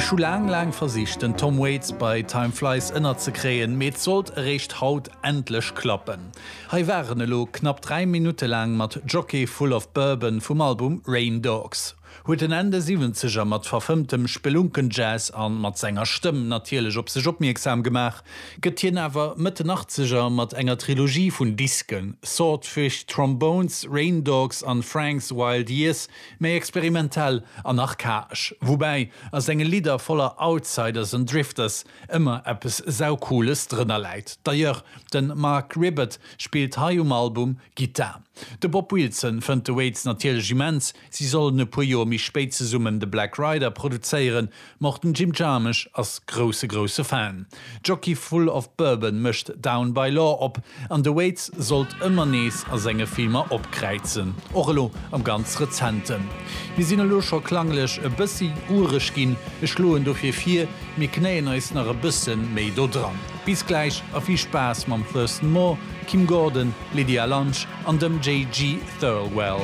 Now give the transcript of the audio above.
Ech hu laang, laang versicht, den Tom Waits bei Time Flies ënnerzekréien, mee et sollt eréischt haut endlech klappen. Hei war en elo knapp 3 Minutte laang mat Jockey Full of Bourbon vum Album Rain Dogs. Huet en Enn de Siwwenzeger mat verfëmmtem Spelunken-Jazz an mat senger Stëmm natierlech op sech opmierksam gemaach, gëtt hien awer Mëtt den Achtzeger mat enger Trilogie vun Disken, Swordfish Trombones, Rain Dogs an Frank's Wild Years, méi experimentell an archaesch, woubäi a senge Lidder voller Outsiders an Drifters ëmmer eppes Saucooles drënner läit. D'ailleurs, de Marc Ribot spillt hei um Album Gittar. De Bob Wilson fënnt de Waits natierlech immens, si sollen e puer Joer méi spéit zesummen The Black Rider produzéieren, ma och den Jim Jarmusch ass grousse grousse Fan. Jockey Full of Bourbon mécht Down by Law op an de Waits sollt ëmmer nees a senge Filmer opkräizen, och elo am ganz rezenten. Mir sinn elo scho klanglech e bëssi ureg ginn, ech schloen dofir vir, mir knéien eis nach e bësse méi do dran. Bis gläich a vill Spaass mam Thurston Moore, Kim Gordon, Lydia Lunch an dem JG Thirlwell.